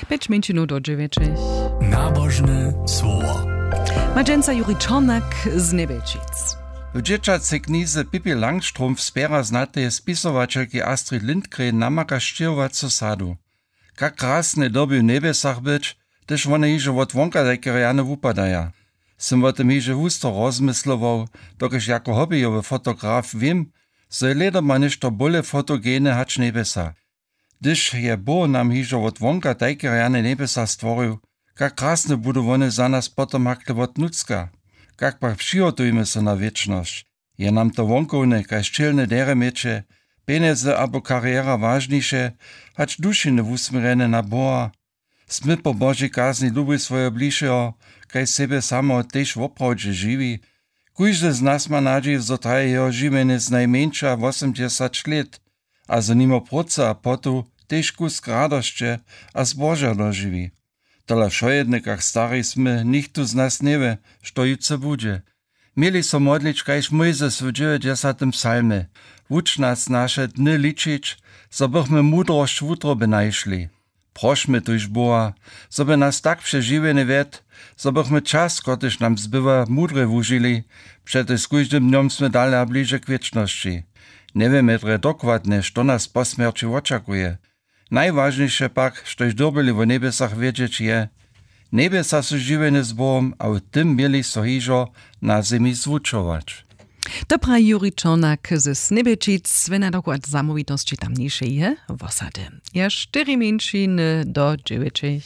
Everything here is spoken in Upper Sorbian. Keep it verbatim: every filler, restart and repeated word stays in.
Pjeć mjeńšinow do dźewjećich. Nabožne słowo. Ma dźensa Juri Čornak z Njebječic. W dźěćacej knize Pippi Langstrumpf spjera znateje spisowaćelki Astrid Lindgren namaka sćěhowacu sadu. Kak krasne dyrbi w njebjesach być, hdyž wone hižo wot wonka tajke rjane wupadaja. Sym wo tym hižo husto rozmyslował, dokelž jako hobbyjowy fotograf wěm, zo je lědoma něšto bóle fotogene hač njebjesa. Hdyž je Bóh nam hižo wot wonka tajke rjane njebjesa stworił, kak krasne budu wone za nas potom hakle wot nutřka. Kak pak přihotujmy so na wěčnosć? Je nam to wonkowne kaž ćělne derjeměće, pjenjezy abo kariera wažniše, hač dušiny wusměrjene na Boha? Smy po Božej kazni lubuj swojeho blišeho kaž sebje sameho tež woprawdźe žiwi? Kóždy z nas ma nadźiw, zo traje jeho žiwjenje znajmjeńša wosomdźesać lět a zo nimo prócy a potu tež kusk radosće a zboža dožiwi. Tola wšojedne kak stari smy, nichtó z nas njewě, što jutře budźe. Měli so modlić kaž Mójzes w dźewjećdźesatym psalmje: Wuč nas naše dny ličić, zo bychmy mudrosć wutroby našli. Prošmy tuž Boha, zo by nas tak přez žiwjenje wjedł, zo bychmy čas, kotryž nam zbywa, mudrje wužili, přetož z kóždym dnjom smy dale a bliže k wěčnosći. Njewěmy drje dokładnje, što nas po smjerći wočakuje. Najwažniše pak, štož dyrbyli wo njebjesach wědźeć, je: Njebjesa su žiwjenje z Bohom a w tym měli so hižo na zemi zwučować. To praji Juri Čornak ze Snybječic, wěna dokład zamołwitosći tamnišeje wosady. Ja štyri mjeńšiny do dźewjećich.